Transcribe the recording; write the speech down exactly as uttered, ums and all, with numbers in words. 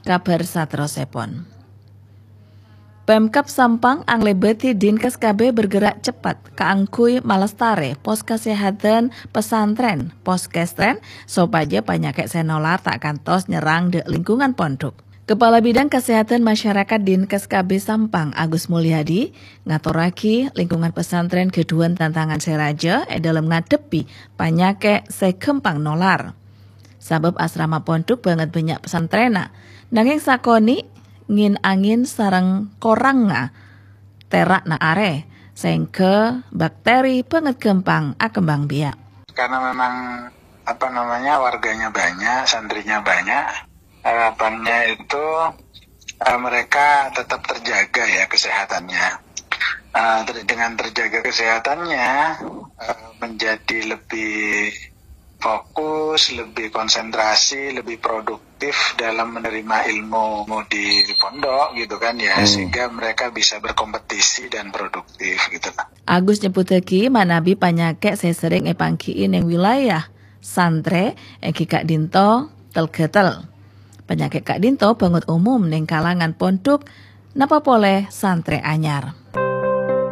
Kabhâr saterrossèpon. Pemkab Sampang anglèbâdhi Dinkes K B bergerak cepat kaangghuy malestarè pos kasèhadhân pesantren, poskestren, sopajâ panyakèt sè nolar ta' kantos nyerrang dâ' lingkungan pondhuk. Kepala Bidang Kasèhadhân Masyarakat Dinkes K B Sampang, Agus Mulyadi, ngatorraghi lingkungan pesantren ghâdhuwân tantangan sè rajâ è dâlem ngadhebbhi panyakèt sè ghâmpang nolar. Sabâb asrama pondhuk bângèt bânnya' pesantrenna, nangèng sakonè' ngèn-angèn sareng korangnga tera'na arè, sehingga bakteri bângèt ghâmpang akembang biak. Karena memang, apa namanya, warganya banyak, santrinya banyak, harapannya itu, eh, mereka tetap terjaga ya kesehatannya. Eh, ter- dengan terjaga kesehatannya, eh, menjadi lebih fokus, lebih konsentrasi, lebih produktif dalam menerima ilmu di pondok gitu kan ya, Hmm. sehingga mereka bisa berkompetisi dan produktif gitu lah. Agus nyebbhuttaghi manabi panyakèt sè serrèng èpangghi'i neng wilayah santrè èngghi ka'dinto tel-ghâtel. Panyakèt ka'dinto bângèt umum neng kalangan pondhuk, napa polè santrè anyar.